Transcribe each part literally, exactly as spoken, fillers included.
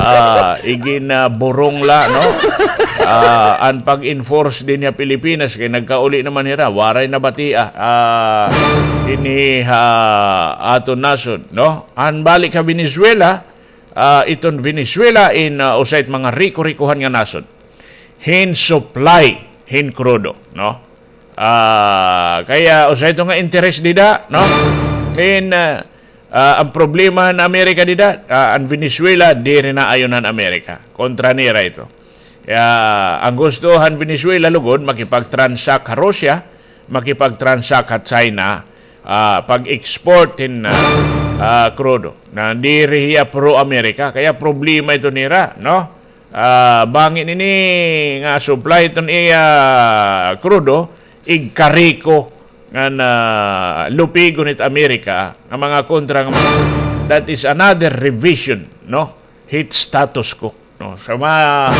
ah, igin, ah, burong la, no? Ah, an pag-enforce dinhi ha Pilipinas, kay nagkauli naman hira, waray nabatia, ah, dinhi ha aton nasod, no? An balik ha Venezuela, ah, iton Venezuela in, ah, usa it mga riko-rikohan nga nasod hin supply hin krudo, no? Ah, kaya usa ito nga interes dida, no? In, ah, ah, an problema han Amerika dida, ah, an Venezuela, diri na ayon han Amerika. Kontra nira ito. Kaya an gusto han Venezuela lugod, makipag-transact ha Russia, makipag-transact ha China, ah, pag-export hin, ah, ah, krudo. Na diri hiya pro-Amerika, kaya problema ito nira, no? Ah, bangin ini nga supply iton iya krudo, igkariko nga na lupigon it Amerika nga mga kontra nga mga, that is another revision, no? Hit status quo, no? Sa ma-,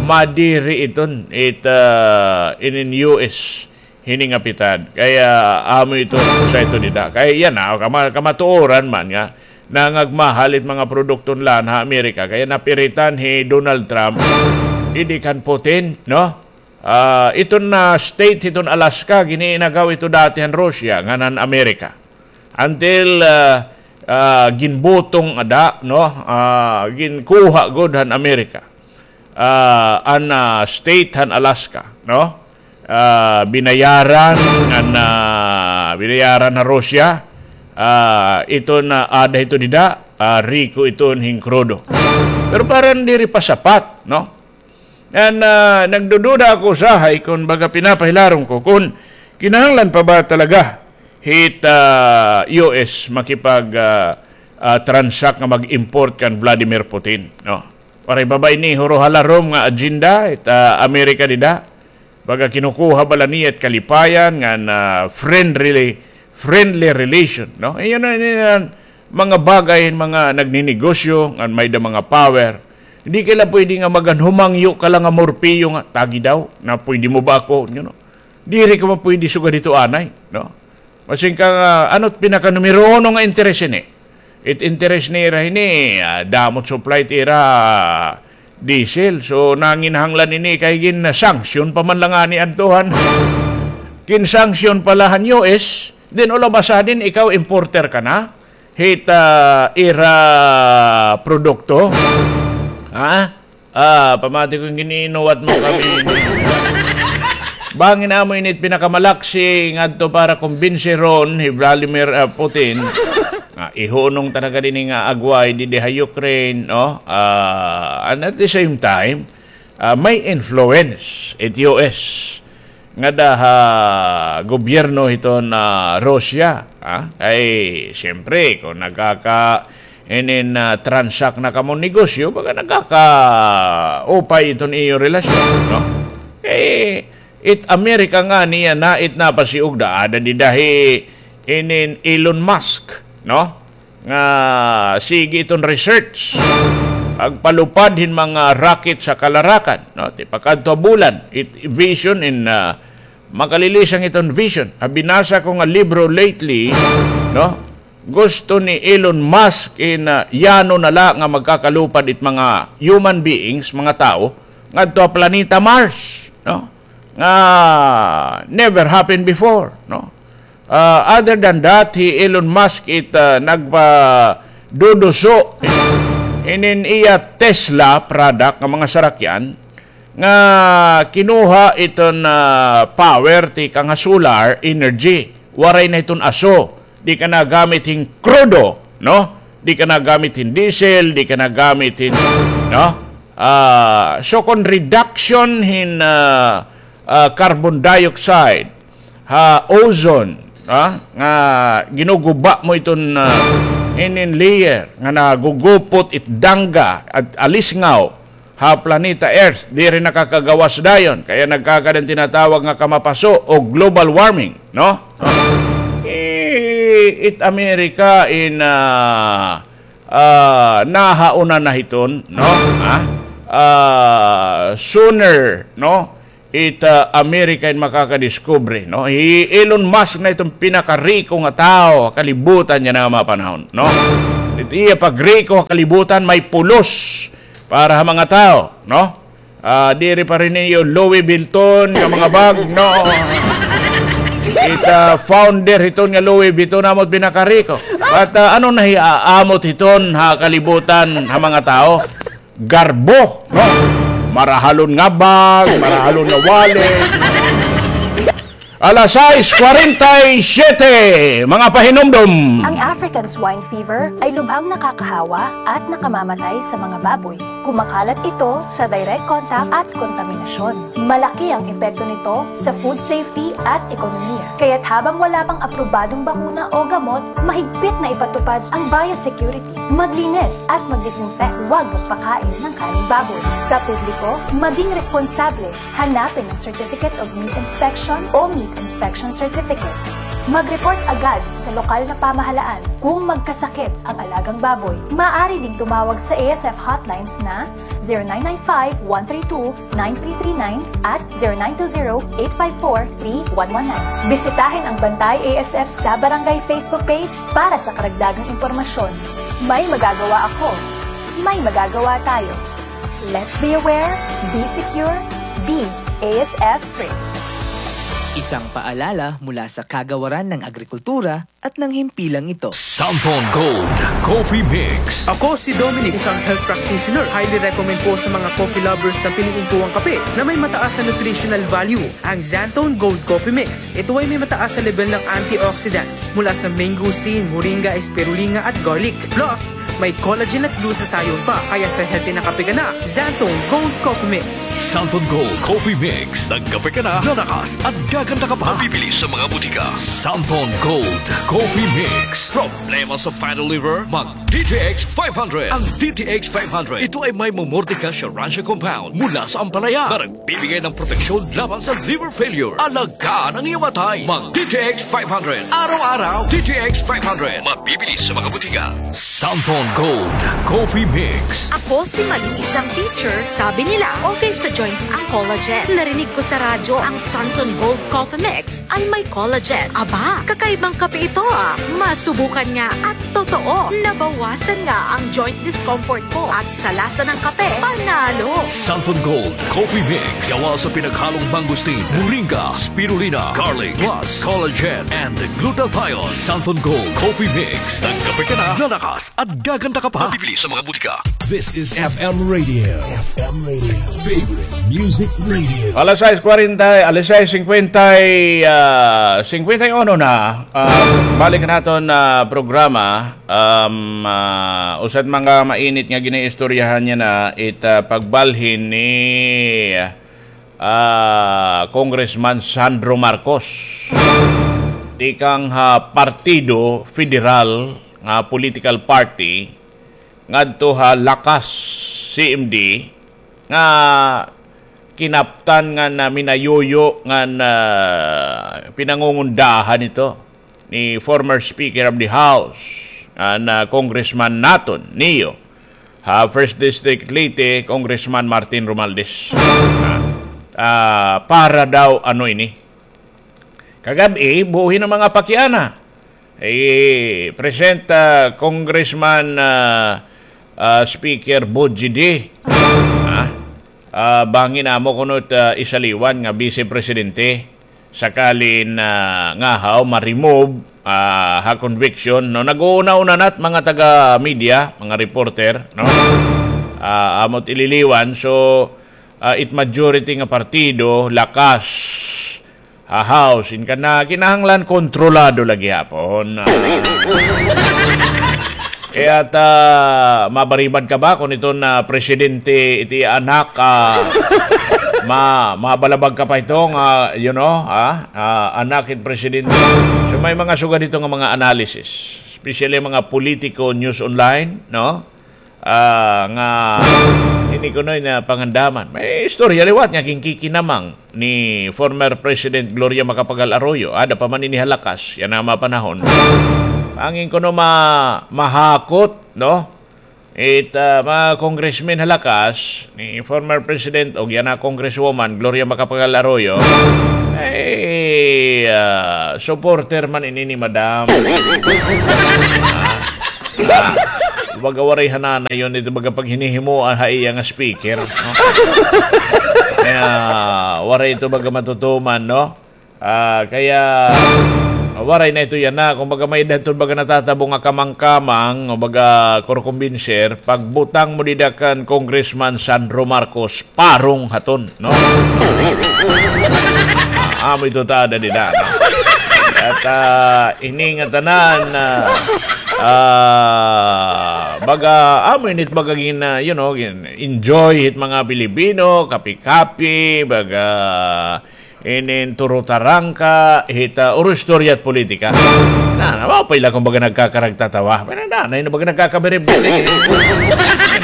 madiri iton it, ah, inin U S hini nga pitad. Kaya amo ito, usa ito dida. Kaya yana, kama-, kamatuoran man nga, nangagmahal it mga produkto nila ha Amerika. Kaya napiritan hi Donald Trump, didi kan Putin, no? Ah, iton na state, iton Alaska, giniinagaw ito dati han Russia, ngan han Amerika. Until, ah, ah, ginbutong ada, no? Ah, ginkuha gud han Amerika. Ah, an, ah, state han Alaska, no? Ah, binayaran, an, ah, binayaran han Russia, ah, ito na ada ito dida, ah, riko ito hin krudo. Pero parang diri pa sapat, no? An, ah, nagdududa ako usahay kon baga pinapahilarom ko kon kinahanglan pa ba talaga hit, ah, U S makipag, ah, ah, transact nga mag-import kan Vladimir Putin, no? Waray pa ba ini huro ha larom nga agenda it, ah, Amerika dida? Baga kinukuha bala niya it kalipayan ngan friendly, friendly relation, no? Iyon na, iyon na mga bagay, mga nagninegosyo, ngan may da mga power. Hindi ka la pwede nga magan humangyo ka la nga morpiyo nga, tagi daw, na pwede mo ba ako, you know? Diri ka man pwede sugad hito anay, no? Masin ka nga, ano it pinaka numero uno nga interes ini? It interes nira hini, ah, damo it supply it ira, ah, diesel. So, nanginahanglan ini kay gin-sanction pa man la ngani adto han. Gin-sanction pa la han U S, then all of a sudden, ikaw importer ka na hit, ah, ira produkto. Ha? Ah, pamati ko, gin-iinuwat mo kami. Bangin amo ini it pinakamalaksi ngadto para kumbinsiron hi Vladimir, ah, Putin. Ah, ihunong ta na gad ini nga agway didi ha Ukraine, no? Ah, and at the same time, ah, may influence it U S ngada ha gobyerno hiton Russia, ha? Kay, siyempre, kon nagkaka-, inin, ah, transact na kamo negosyo, baga nagkakaupay iton iyo relasyon, no? Kay, it Amerika ngani yana it napasiugda, ada dida hi inin Elon Musk, no? Nga sige iton research. Pagpalupad hin mga rocket sa kalarakan, no? Tipakadto ha bulan, it vision in, ah, makalilisang iton vision. Ha binasa ko nga libro lately, no? Gusto ni Elon Musk in, ah, yano na la nga magkakalupad it mga human beings, mga tawo, ngadto ha planeta Mars, no? Nga never happened before, no? Ah, other than that, hi Elon Musk it, ah, nagpaduduso inin iya Tesla product nga mga sarakyan nga kinuha iton, ah, power tikang ha solar energy. Waray na hiton aso. Di ka na gamit hin krudo, no? Di ka na gamit hin diesel, di ka na gamit hin, no? Ah, so kon reduction hin, ah, ah, carbon dioxide, ha ozone, ha, nga ginuguba mo iton, ah, inin layer nga nagugupot it dangga at alisngaw ha planeta Earth, diri nakakagawas dayon, kaya nagkakaada an tinatawag nga kamapaso o global warming, no? I-, it America in, ah, ah, nahauna na hiton, no? Ha? Ah, sooner, no? It, ah, America in makakadiskubre, no? Hi Elon Musk na iton pinakariko nga tawo ha kalibutan yana nga mga panahon, no? It iya pagriko ha kalibutan may pulos para ha mga tawo, no? Ah, diri pa rin niyo Louis Vuitton nga mga bag, no? It, ah, founder hiton nga Louis Vuitton, amot pinakariko. But, ah, ano na hi-, ah, amot hiton ha kalibutan ha mga tawo? Garbo, no? Marahalon nga bag, marahalon nga wallet. Alas sais kwarenta y siyete, mga pahinumdom. Ang African swine fever ay lubhang nakakahawa at nakamamatay sa mga baboy. Kumakalat ito sa direct contact at kontaminasyon. Malaki ang epekto nito sa food safety at ekonomiya. Kaya't habang wala pang aprobadong bakuna o gamot, mahigpit na ipatupad ang biosecurity. Maglinis at mag-disinfect. Huwag magpakain ng karneng baboy. Sa publiko, maging responsable. Hanapin ang Certificate of Meat Inspection o Meat Inspection Certificate. Mag-report agad sa lokal na pamahalaan kung magkasakit ang alagang baboy. Maaari ding tumawag sa A S F hotlines na zero nine nine five, one three two, nine three three nine at zero nine two zero, eight five four, three one one nine. Bisitahin ang Bantay A S F sa Barangay Facebook page para sa karagdagang impormasyon. May magagawa ako. May magagawa tayo. Let's be aware, be secure, be A S F free. Isang paalala mula sa Kagawaran ng Agrikultura at ng himpilang ito. Santhon Gold Coffee Mix. Ako si Dominic, isang health practitioner. Highly recommend ko sa mga coffee lovers na piliin ko ang kape na may mataas na nutritional value, ang Xanthone Gold Coffee Mix. Ito ay may mataas na level ng antioxidants mula sa mangosteen, moringa, spirulina at garlic. Plus, may collagen at glutathione pa, kaya sa healthy na kape ka na, Xanthone Gold Coffee Mix. Santhon Gold Coffee Mix. Nagkape ka na, lalakas at gaganda ka pa. Mabibili sa mga butika. Santhon Gold Coffee Mix. Problema sa fatty liver? Mag D T X five hundred. Ang D T X five hundred, ito ay may mumurtika siya rancia compound mula sa ampalaya na nagbibigay ng proteksyon laban sa liver failure. Alagaan ang iyong atay. Mag D T X five hundred. Araw-araw, D T X five hundred. Mabibili sa mga butika. Santhon Gold Coffee Mix. Ako si Mali, isang teacher. Sabi nila, okay sa joints ang collagen. Narinig ko sa radyo ang Santhon Gold Coffee Mix ay may collagen. Aba, kakaibang kape ito, ah. Masubukan nga at totoo, nabawasan nga ang joint discomfort ko at sa lasa ng kape, panalo. Santhon Gold Coffee Mix. Gawa sa pinaghalong mangosteen, moringa, spirulina, garlic, plus collagen and glutathione. Santhon Gold Coffee Mix. Nagkape ka na, lalakas at gaganda ka pa. Mabibili sa mga butika. This is F M Radio. F M Radio. Favorite Music Radio. Alas sais kwarenta, alas sais singkwenta, ah, singkwenta y uno na. Ah, balik naton, ah, programa. Um, ah, usa it mga mainit nga ginaistoryahan niya na it, ah, pagbalhin ni, ah, Congressman Sandro Marcos tikang ha partido, federal nga political party, ngadto ha Lakas C M D nga kinaptan ngan, ah, minayuyo ngan, ah, pinangungundahan ito ni former Speaker of the House, ngan, ah, Congressman naton, niyo, ha First District Leyte, Congressman Martin Romualdez. Ah, ah, para daw ano ini, kagab-i, buhi na mga pakiana. I-present, ah, Congressman, ah, ah, Speaker Boji D. Ah, ah, bangin amo kuno it, ah, isaliwan nga Vice Presidente. Sakali na ngahaw ma-remove, ah, ha conviction, no? Nag-uuna-una na it mga taga-media, mga reporter, no? Ah, amo it ililiwan. So, ah, it majority nga partido, Lakas, ha House, in kana kinahanglan kontrolado la gihapon. Ah. Kay ta, mabaribad ka ba kon iton presidente it iya anak, ah, ma-, mabalabag ka pa ito nga, you know, ah, ah, anak it presidente. So, may mga sugad ito nga mga analysis, especially mga politiko, news online, no? Ah, nga ini kuno na pangandaman. May istorya liwat nga ginkikinamang ni former President Gloria Macapagal Arroyo. Ada pa man ini ha Lakas, yana nga mga panahon. Bangin kuno ma-, mahakot, no? It, ah, mga congressmen ha Lakas, ni former President ug yana Congresswoman Gloria Macapagal Arroyo, ay, ah, supporter man ini ni Madam. Ah, ah. Baga waray hananay yon ito baga paghinihimoan ha iya nga speaker, no? Kaya waray ito baga matutuman, no? Ah, kaya waray na ito yana. Kumbaga may-ada ito baga natatabo nga kamangkamang, o baga kurkumbinser, pagbutang mo dida kan Congressman Sandro Marcos, parong haton, no? Ah, amo ito tada dida, no? At, ah, ini nga tanan, ah, ah, baga, amo ini it baga gin, ah, you know, gin-enjoy hit mga Pilipino, kapi-kapi, baga, inin turutarangka, hit, ah, uro-istorya at politika. Na, na, mao pa ila kumbaga nagkakaragtatawa. Pero na, na, baga nagkakabiribot, eh.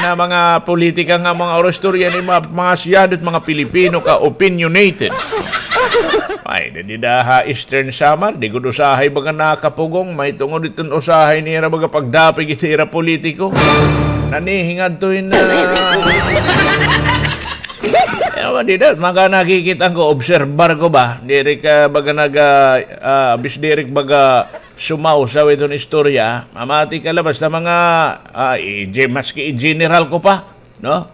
Na mga politika nga mga uro-istorya ni mga, mga siyado at mga Pilipino ka opinionated. Ay, di, dida ha Eastern Samar, di gud usahay baga nakapugong, mahitungod iton usahay nira baga pagdapig it ira politiko. Nanihingadto hin, ah, ewan, dida, mga nakikita ko, obserbar ko ba? Diri ka baga nag, ah, ah, bis diri baga sumawsaw iton istorya. Mamati ka la, basta mga, ah, i-, maski i-general ko pa, no?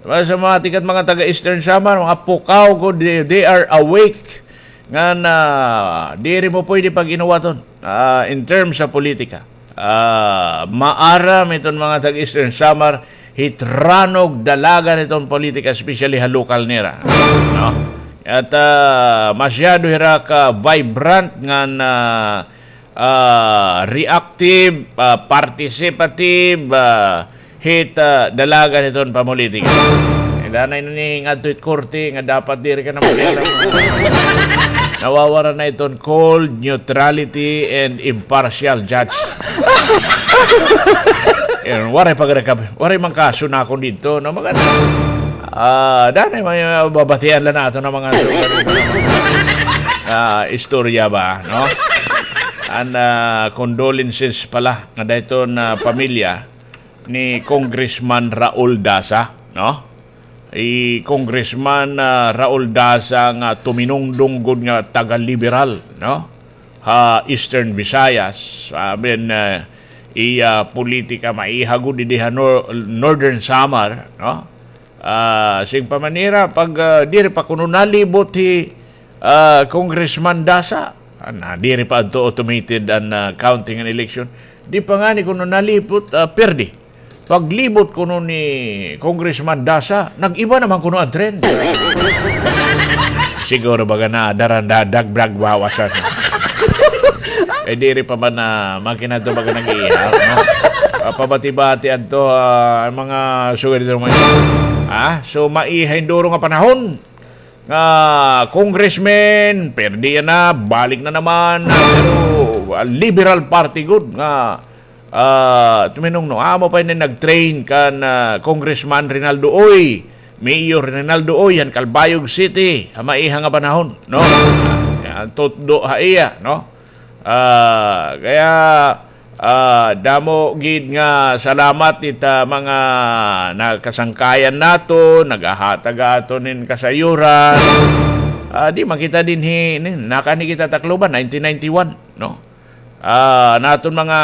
Basta mamati ka mga taga Eastern Samar, mga pukaw ko, they, they are awake. Nga na, diri mo pwede pag-inuwaton, ah, in terms sa politika. Ah, maaram iton mga taga Eastern Samar, hit ranog dalagan iton politika, especially ha lokal nira. No? At, ah, masyado hira ka vibrant nga na, ah, reactive, ah, participative, ah, hit, ah, dalagan hiton pamolitika. Danay na ni ngadto hit korte nga dapat diri ka na makialam. Nawawara na iton cold, neutrality, and impartial judge. Yun, waray pagrekab-, waray man kaso na akon didto, no? Maganda. Ah, danay may mababatian la naton nga mga sugat, ah, istorya ba, no? And, ah, condolences pala nga dayton, ah, pamilya ni Congressman Raul Daza, no? I Congressman, ah, Raul Daza nga tuminungdong gud nga taga-liberal, no? Ha Eastern Visayas, I mean, ah, iya politika maiha gud didi ha Nor-, Northern Samar, no? Ah, sing pa man nira, pag, ah, diri pa kuno nalibot hi, ah, Congressman Daza, ah, na, diri pa adto automated an, ah, counting an election. Di pa ngani kuno nalibot, ah, perdi. Paglibot kuno ni Congressman Daza, nag-iba naman kuno an trend. Siguro baga na daran dadag brag bawasan. Eh, diri pa man na makina to baga nag-iihap, no? Ah, pabati-bati adto, ah, mga sugar dito mga. Ah, so maiha hin duro nga panahon nga congressman, perdi na, balik na naman, pero, ah, Liberal Party gud nga, ah, tuminungno. Amo pa ini nag-train kan, ah, Congressman Rinaldo Uy, Mayor Rinaldo Uy, han Calbayog City, ha maiha nga panahon, no? Yan, tutdo ha iya, no? Ah, kaya, ah, damo gid nga salamat it, ah, mga nakasangkayan naton, nagahatag aton hin kasayuran. Ah, di man kita dinhi, nin, nakani kita Tacloban, nineteen ninety-one, no? Ah, naton mga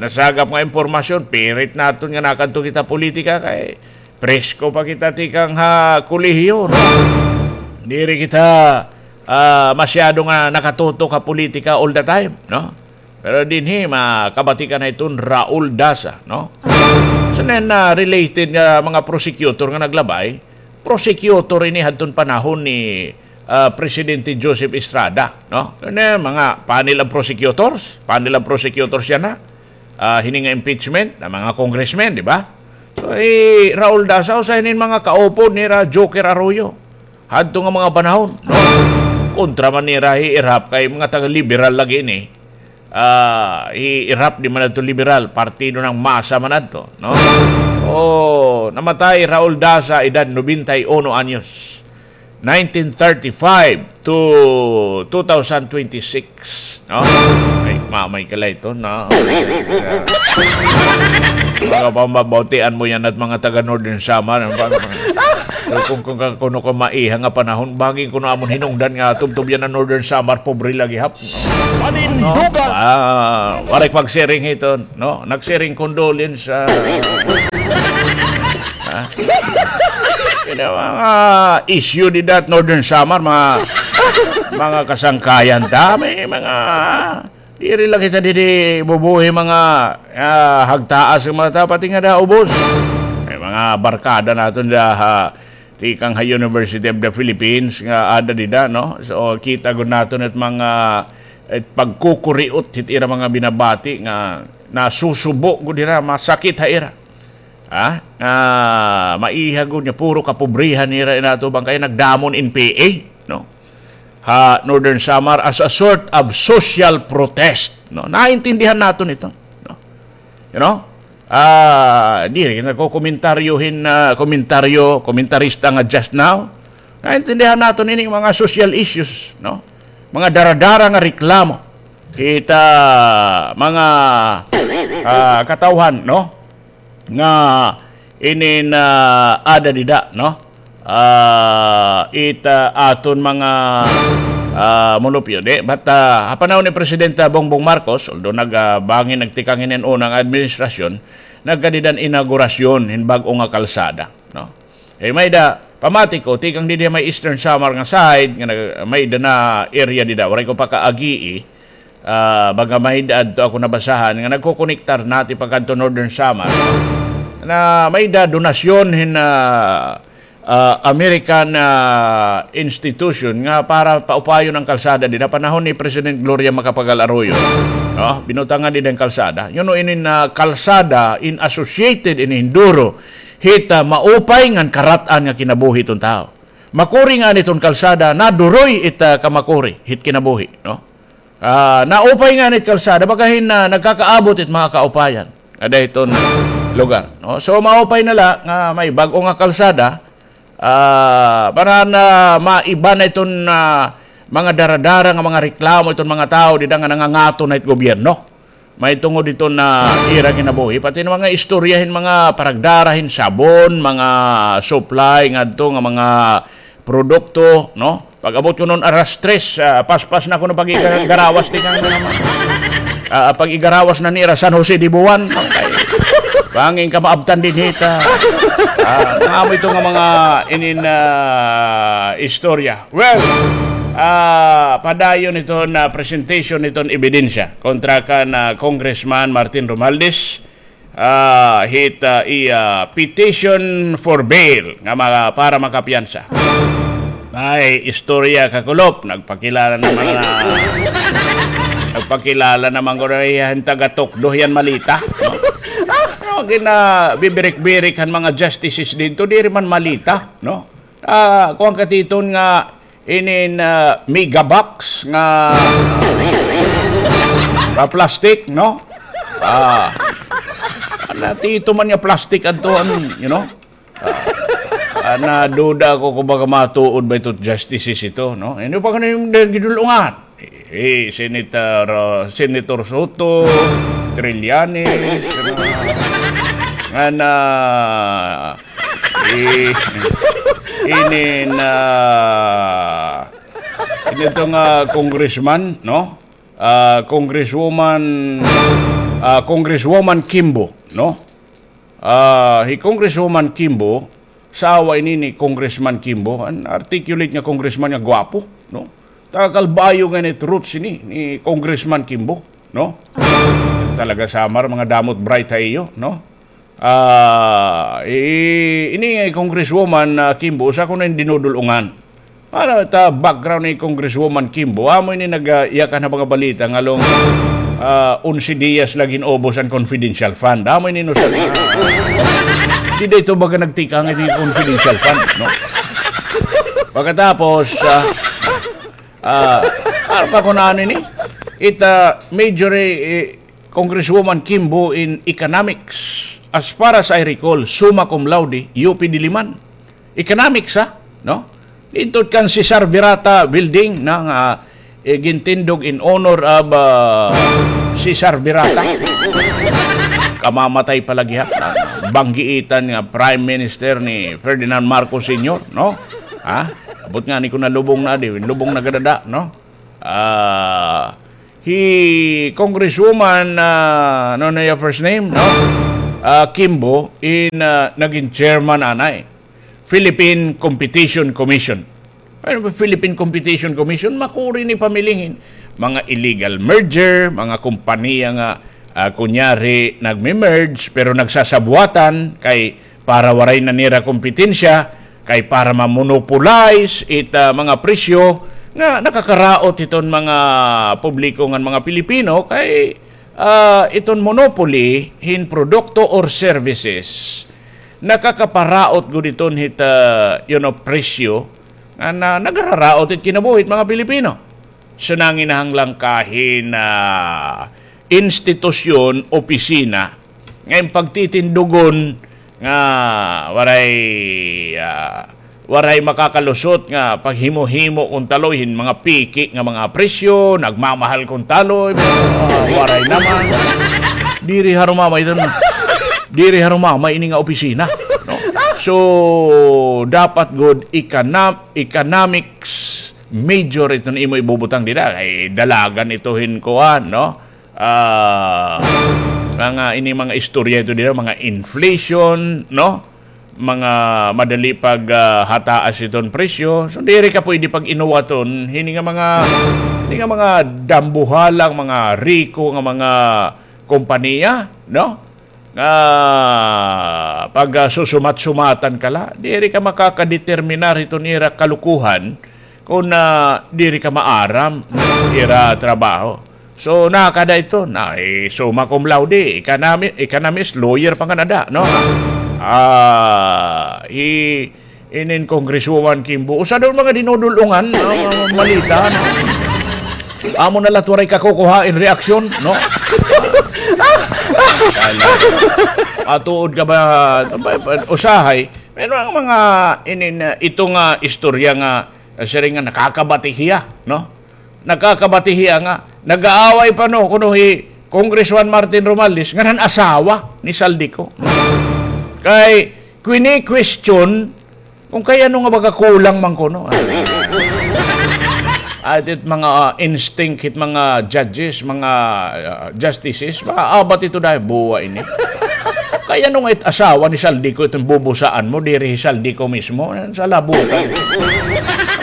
nasagap nga impormasyon, pirit naton nga nakadto kita politika kay presko pa kita tikang ha kolehiyo, no? Diri kita, ah, masyado nga nakatutok ha politika all the time, no? Pero dinhi, makabati ka na iton Raul Daza, no? So, then, ah, related nga mga prosecutor nga naglabay, prosecutor ini hadton panahon ni, ah, Presidente Joseph Estrada, no? Ano, mga panel of prosecutors, panel of prosecutors yana. Ah, hini nga impeachment, an mga congressmen, di ba? So, eh, Raul Daza, usa hini mga kaupod nira Joker Arroyo. Hadto nga mga panahon, no? Kontra man nira hi Erap kay mga taga-liberal lagi ini. Ah, hi Erap di man adto liberal, partido ng masa man adto, no? Oh, namatay Raul Daza, edad nobenta y uno anyos. Nineteen thirty-five to two thousand twenty-six, no? Ay, mamay ka la ito, no? Mga pambabautian mo yana it mga taga Northern Samar, ano ba? So, kung, kung, kung, kuno ka maiha nga panahon, bangin kuno amon hinungdan nga tubtob yana Northern Samar, pobre la gihap. Panindugan! Ah, waray pagsiring hiton, no? Nagsiring condolence, ah. Ha? Kaya mga issue dida ha Northern Samar, mga, mga kasangkayan ta, may mga, diri la kita didi bubuhi mga, ah, hagtaas nga mga tao, pati nga da ubos. May mga barkada naton da, ha, tikang ha University of the Philippines nga ada dida, no? So, kita gud naton it mga, it pagkukuriot hit ira mga binabati nga nasusubo gud hira, masakit ha ira. Ha? Nga maiha gud nga puro kapobrihan nira in atubang kay nagdamon in P A, no? Ha Northern Samar as a sort of social protest, no? Naintindihan naton ito, no? You know? Ah, diri nagkokomentaryo hin, ah, komentaryo, komentarista nga just now. Naintindihan naton ini mga social issues, no? Mga daradara nga reklamo. Kita mga, ah, katawhan, no? Nga inin, ah, ada dida, no? Ah, it, ah, aton mga, ah, munupyo, di? But, ah, ha panahon ni Presidente Bongbong Marcos, although nag, ah, bangin nagtikang inin unang administrasyon, nagkadidan inaugurasyon hin bag-o nga kalsada, no? Eh, may da, pamati ko, tikang didi may Eastern Samar nga side, nga nag-, may da na area dida, waray ko pa kaagii, ah, baga may da adto ako nabasahan, nga nagkokonektar nati pagkadto Northern Samar, na may da donasyon hin, ah, ah, American, ah, institution nga para paupayon an kalsada dida panahon ni President Gloria Macapagal Arroyo. No? Binutangan dida an kalsada. Yun no, inin, ah, kalsada in associated in hinduro hit, ah, maupay ngan karat-an nga kinabuhi ton tawo. Makuri ngani ton kalsada, naduroy it, ah, kamakuri hit kinabuhi, no? Ah, naupay ngani it kalsada, baga hin, ah, nagkakaabot it mga kaupayan ada hiton lugar, no? So, maupay na la nga may bag-o nga kalsada, ah, para na maiba na iton, ah, mga daradara nga mga reklamo iton mga tawo dida nga nangangato na it gobyerno. Mahitungod iton ira kinabuhi, pati na mga istorya hin mga paragdara hin sabon, mga supply ngadto nga mga produkto, no? Pag-abot ko nuon alas tres, ah, paspas na kuno pag-igarawas tikang, ah, pag-igarawas na nira San Jose de Buan. Bangin ka maabtan dinhi ta. Ah, nga amo ito nga mga inin, ah, istorya. Well, ah, padayon iton, ah, presentation iton ebidensya kontra kan, ah, Congressman Martin Romualdez, ah, hit, ah, iya petition for bail nga mga, para makapiyansa. Ay, istorya, kakulop, nagpakilala naman na, nagpakilala naman ko na iya hin taga-tukdo hiyan malita. No, ginabibirik-birik han mga justices didto, diri man malita, no? Ah, kuan ka titon nga inin, ah, mega box nga, ah, plastic, no? Ah, natito man nga plastic adto, ano, you know? Ah, ah, naduda ako kung baga matuod ba ito justices ito, no? Ano pa kano yung gidulungan? Eh, Senator, ah, Senator Soto, Trillanes, ano, nga na, eh, ini na, ini ito nga congressman, no? Ah, Congresswoman, ah, Congresswoman Kimbo, no? Ah, hi Congresswoman Kimbo, asawa ini ni Congressman Kimbo, an articulate nga congressman nga gwapo, no? Taga Calbayog ngani it roots ini ni Congressman Kimbo, no? Talaga Samar, mga damot bright ha iyo, no? Ah, i-, ini nga Congresswoman, ah, Kimbo, usa kuno hin dinudul-ongan. Para ta background ni Congresswoman Kimbo, amo ini nag-, ah, iyakan ha mga balita ngan, ah, onse diyas la gin-ubos an confidential fund. Amo ini no sa, dida ito baga nagtikang ini confidential fund, no? Pagkatapos, ah, ah, ano pa kung ano ini? It, ah, major, eh, eh, Congresswoman Kimbo in economics. As far as I recall, summa cum laude, U P Diliman. Economics, ha? No? Didto kan Cesar Virata Building nga, eh, gintindog in honor of, ah, Cesar Virata. kamamatay pa la gihap. Banggiitan nga Prime Minister ni Ferdinand Marcos Senior, no? Ha? Abot ngani kon nalubong na, di, lubong na gad ada, no? Ah, hi Congresswoman, ah, ano na iya first name, no? Ah, Kimbo, in, ah, nagin chairman anay. Philippine Competition Commission. Ano ba Philippine Competition Commission? Makuri ni pamilingin. Mga illegal merger, mga kompanya nga, ah, kunyari, nagme-merge, pero nagsasabuatan kay para waray na nira kompetensya, kay para ma-monopolize it, ah, mga presyo nga nakakaraot hiton mga publiko ngan mga Pilipino kay, ah, iton monopoly hin produkto or services nakakaparaot gud iton hit, ah, you know, presyo nga na, nagararaot it kinabuhi hit mga Pilipino. So, nanginahanglan ka hin, ah, institusyon, opisina nga im pagtitindugon nga waray, ah, waray makakalusot nga paghimo-himo kon taloy hin mga piki nga mga presyo, nagmamahal kon taloy, ah, waray naman. Diri harumamay ito, no? Diri harumamay ini nga opisina, no? So, dapat gud econo-, economics major iton imo ibubutang dida. Kay dalagan ito hin kuan, no? Ah, mga ini mga istorya ito dida, mga inflation, no? Mga madali pag, ah, hataas iton presyo. So, diri ka pwede pag-inuwaton hini nga mga, hini nga mga dambuhalang, mga riko nga mga kompanya, no? Nga pag, ah, susumat-sumatan ka la, diri ka makakadeterminar hiton ira kalukuhan kon, ah, diri ka maaram ira trabaho. So, nakada ito, na, eh, summa cum laude, economi-, economist, lawyer pa nga nada, no? Ah, hi, inin Congresswoman Kimbo. Usa daw mga dinudul-ungan, no? Mga malita, no? Amo na la waray kakukuha in reaksyon, no? Matuod ka ba? Usahay, pero ang mga inin, uh, ito nga istorya nga, uh, siring nga nakakabati hiya, no? Nakakabati hiya nga nag-aaway pa, no, kuno hi Congressman Martin Romualdez ngan han asawa ni Zaldy Co. Kay kini-question kon kay ano nga baga kulang man kuno. Ay, it mga, ah, instinct hit mga judges, mga, ah, justices, maabat ito dahil buwa ini. Kay ano nga it asawa ni Zaldy Co iton bubusaan mo, diri hi Zaldy Co mismo, sa labutan.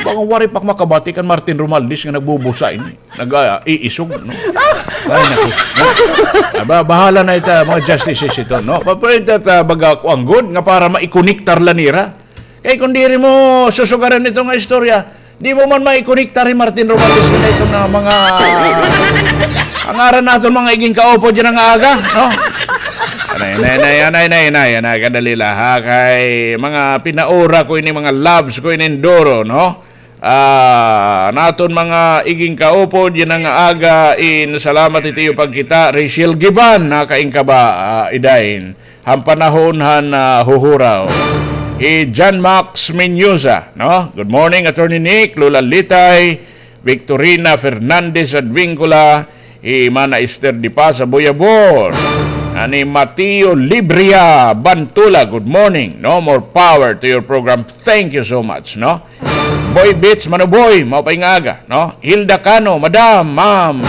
Baka waray pa makabati kan Martin Romualdez nga nagbubusa ini. Nag-iisog, no? Ay, naku. Aba, bahala na ita, mga justices ito, no? Papalit at, ah, baga kuan gud nga para maikonektar la nira. Kay kung diri mo susugaran ito nga istorya, di mo man maikonektar hi Martin Romualdez na ito na mga, ang ngaran naton mga iging kaupod yana nga aga, no? Anay, anay, anay, kadali la, ha? Kay mga pinaura ko ini, mga loves ko ini duro, no? Ah, naton mga iging kaupod yana nga aga, in salamat iti iyo pagkita, Rachel Giban, nakain ka ba, ah, idain? Han panahon han, ah, huhuraw. Hi John Max Mendoza, no? Good morning, Attorney Nick, Lola Litay, Victorina Fernandez Advincula, hi Mana Esther Di Paz Aboyabon, ani Mateo Libria Bantula, good morning, no? More power to your program. Thank you so much, no? Boy Beats, Mano Boy, maupay nga aga, no? Hilda Cano, Madam, Ma'am.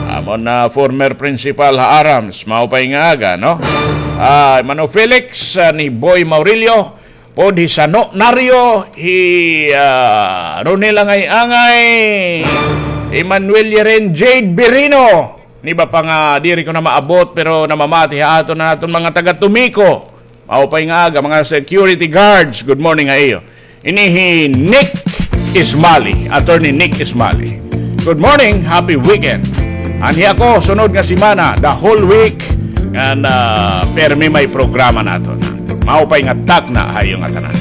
Amon na former principal ha Arams, maupay nga aga, no? Ah, Mano Felix, ah, ni Boy Maurilio, pod hi Sano Nario, hi, ah, Ronel Angay-angay, Emmanuel Yeren, Jade Birino, ni ba pa nga diri ko na maabot, pero namamati ha aton, aton mga taga Tomiko. Maupay nga aga, mga security guards. Good morning ha iyo. Ini hi Nick Ismali, Attorney Nick Ismali. Good morning, happy weekend. Anhi ako, sunod nga semana, the whole week, ngan, ah, permi may programa naton. Maupay nga takna ha iyo ngatanan.